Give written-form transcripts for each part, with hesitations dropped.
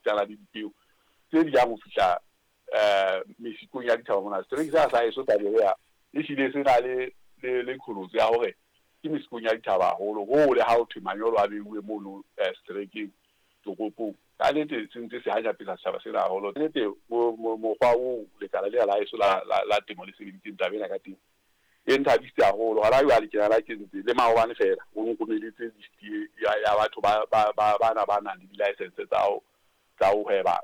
esitana le dipeo tse di yang ho fihla mesikong ya dithaba mona. Setereke sena sa heso sa Berea ehlile se na le qholotso ya hore ke mesikong ya dithaba haholo hoo le ha ho thwe manyolo a beuwe mono seterekeng toropong. Ka nnete se ntse se hanyapetsa setjhaba sena haholo. Nnete mokgwa oo lekala lena la heso la temo le sebeditseng taba ena ka teng e nthabisitse haholo. Hona jwale ke nana ke ntse le maobane feela o nromeletse list ya batho bana ba nang le di-license tsa ho hweba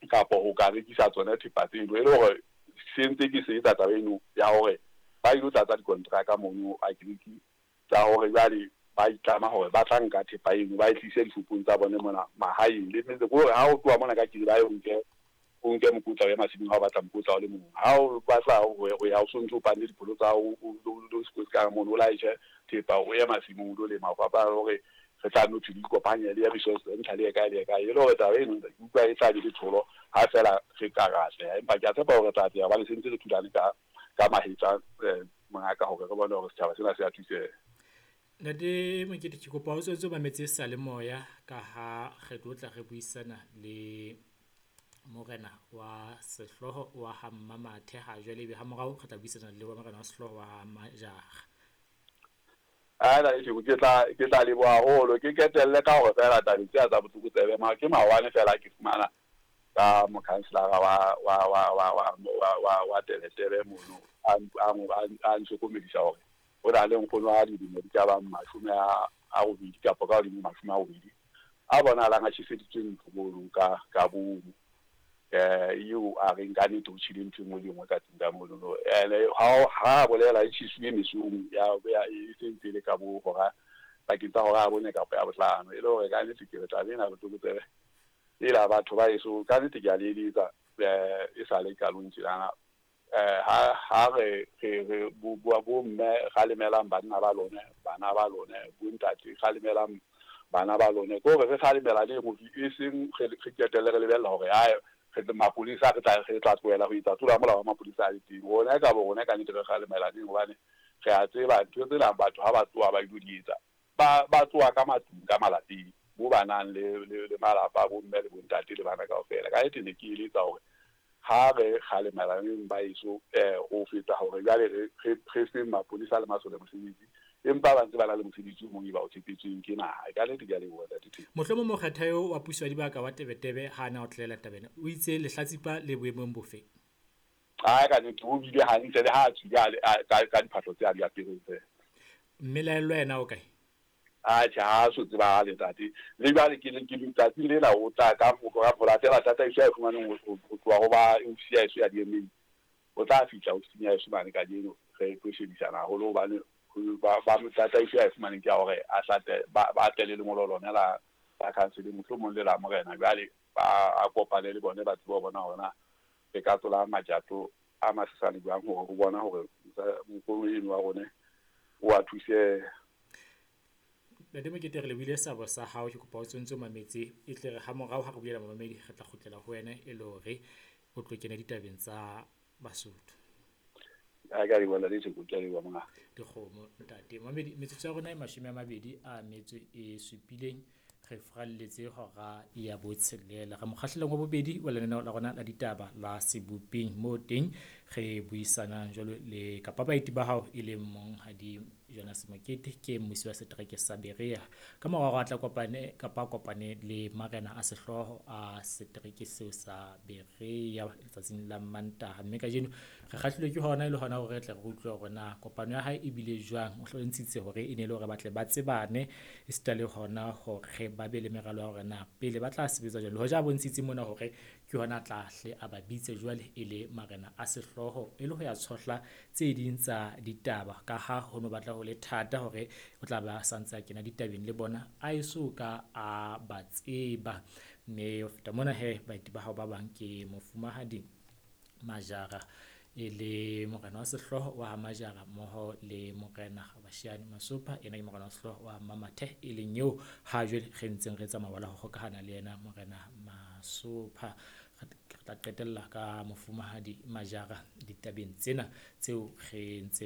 kapa ho ka rekisa tsona thepa tseno, e le hore se ntse ke se etsa taba eno ya hore ba ilo tlatsa dikontraka mono agriki tsa hore jwale ba itlama hore ba tla nka thepa eno ba e tlise dishopong tsa bone mona mahaeng le metse. Ke hore ha o tloha mona ka kiri ba ye o nke mokotla o ye masimong ha o batla mokotla o le mong, ha o batla ho ya o sontso o panne dipholo tsa hao o sekotsi ka mono o laetjhe thepa o ye masimong o lo lema. Ho fapana le hore re tla no thwe di ikopanye le resource center le ye kae le ye kae, e le hore taba eno ke utlwa e tla be le tholo ha feela re ka ra atleha. Empa ke a tshepa hore re tla atleha hobane se ntse re thulane ka mahetla mongaka hore re bone hore setjhaba sena se a thuseha. Ntate Mokete, ke kopa o tswetse o mametse seyalemoya ka ha re tlo tla re buisana le morena wa sehlooho wa ha Mmamathe ha jwale, ebe ha morao re tla buisana le wa morena wa sehlooho wa Majara. Ana ke tla leboha haholo. Ke ketelle ka hore feela tabeng tsena tsa botlokotsebe ke maobane feela ke fumana ka mokhanselara wa Tebetebe mono a ntlhokomedisa hore o na le nkgono wa dilemo di ka bang 80 kapa ka hodimo 80 a bonahalang a tjheseditswe ntlo mono ka bomo. Eo a reng ka nnete o tjhele ntho e nngwe le e nngwe ka tlung ka mono. Ene ha bolela e tjhesuwe mesong ya e sentse le ka bo hora pakeng tsa hora ya 4 kapa ya 5. E le hore ka nnete ke re taba ena botlokotsebe ela batho ba heso ka nnete ke a le eletsa e sale qalong tjenana. Ha re bo mme kgalemelang banna ba lone, bana ba lone, bo ntate kgalemelang bana ba lone, ke hore re kgalemela le hore e seng re qetelle re lebella hore ae re mapolesa re tla tlohela ho etsa tlola molao wa mapolesa a le teng. Rona ka bo rona ka nnete re kgalemela neng, hobane re a tseba ntho tsena batho ha ba tloha ba ilo di etsa ba tloha ka matlung ka malapeng mo ba nang le malapa bo mme le bo ntate le bana kaofela. Ka nnete ne ke eletsa hore ha re kgalemelaneng ba heso ho feta hore jwale re feng mapolesa le masole mosebetsi, empa ba ntse ba na le mosebetsi o mong e ba o tshepetsweng ke naha. Ka nnete ke a leboha ntate Theko. Mohlomong mokgetha eo wa puso ya dibaka wa Tebetebe ha na o tlela taba ena, o itse lehlatsipa le boemong bofe? Ai ka nnete o bile hantle le ha a tswile ka diphahlo tse a di apereng feela. Mmelaellwa yena o kae? Atjhe, ha so tsebahale ntate. Le jwale ke letsatsing lena o tla ka ho latela tataiso ya e fumaneng ho tloha ho ba ofisi ya heso ya DMA. O tla fihla ofising ya heso mane kajeno re tlo shebisana haholo hobane ba tataiso ya e fumaneng ke ya hore a hlate ba tle le lengolo lona la council mohlomong le la morena. Jwale ba a kopane le bone ba tsebe ho bona hore na re ka tlola majato a masesane jwang hore ho bona hore mokgono eno wa rone o a thuse. Ntate Mokete, re lebohile seabo sa hao. Ke kopa o tsontso mametse e tle re ha morao ha re buela mamamedi re tla kgutlela ho wena e le hore o tlo kena ditabeng tsa Basotho. A ka leboha ntate Theko, ke a leboha monga. Dikgomo ntate mamedi, metsotso ya rona e 27 re fralletse hora ya 6. Re mokgahlelong wa bobedi wa lenaneo la rona la ditaba la Sebopeng, moo teng re buisanang jwalo le kapa baeti ba hao e leng monghadi Jonas Mokete, ke mmusi wa setereke sa Berea. Ka mora hore a tla kopane kapa kopane le marena a sehlooho a setereke seo sa Berea letsatsing la Mantaha. Mme kajeno re kgahlilwe ke hona e le hona hore re tle re utlwe hore na kopano ya hae e bile jwang. O hlontshitse hore e ne le hore ba tle ba tsebane esita le hona hore ba be le meralo ya hore na pele ba tla sebetsa jwang. Le hoja a bontshitse mona hore ke hona tla hle a ba bitse jwale e le marena a sehlooho e le ho ya tshohla tse ding tsa ditaba, ka ha ho no batla ho le thata hore o tla ba santse a kena ditabeng le bona a eso ka a ba tseba. Mme ho feta mona he baeti ba hao ba bang ke mofumahadi Majara e le morena wa sehlooho wa Majara mmoho le morena Bashiane Masopha, ena ke morena wa sehlooho wa Mmamathe e leng eo ha jwale re ntseng re tsamaya la ho hokahana le yena morena Masopha. Re tla qetella ka mofumahadi Majara ditabeng tsena tseo re ntseng